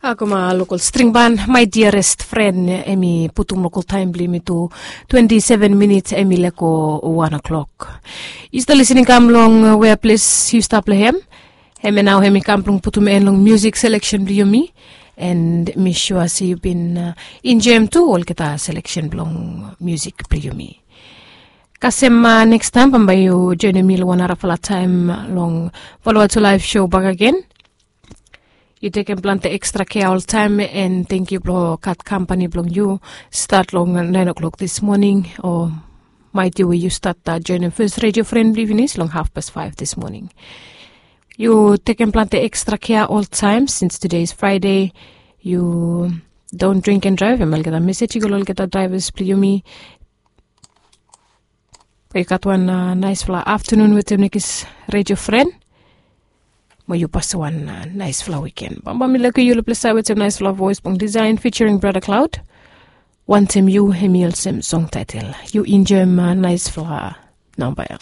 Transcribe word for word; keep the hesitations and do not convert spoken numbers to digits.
Akoma lokol string ban, my dearest friend, em i putum lokol taem blong yumi tu twenti seven minits, em i lego wan o'clock. Yu stap lisening kam long wea ples yu stap long hem. Hemia nao em i kam blong putum en long music selection blong yumi. And mi sua se yu bin enjoem tu olgeta selection blong music blong yumi. Kasem, nekstaem bambae yu joenem mi long wan narafala taem long Vanuatu Live Show bakegen. Yu tekem plante ekstra kea oltaem, and tangkiu blong gat kampani blong yu. Stat long naen o'clock dis moning, o maet yu we yu stat joenem fes redio fren blong yu finis long hafpas faef dis moning. Yu tekem plante ekstra kea oltaem sins tude is Fraede. Yu don't drink and drive, em olgeta mesej i go long olgeta draevas blong yumi. Be yu gat wan naesfala aftanun wetem nekis redio fren. Mo yu pasem wan naesfala wiken. Bambae mi lego yu long ples ya wetem naesfala voes blong Design featuring Brother Cloud. Wantem yu, hem i olsem song taetel. Yu enjoem naesfala namba ya.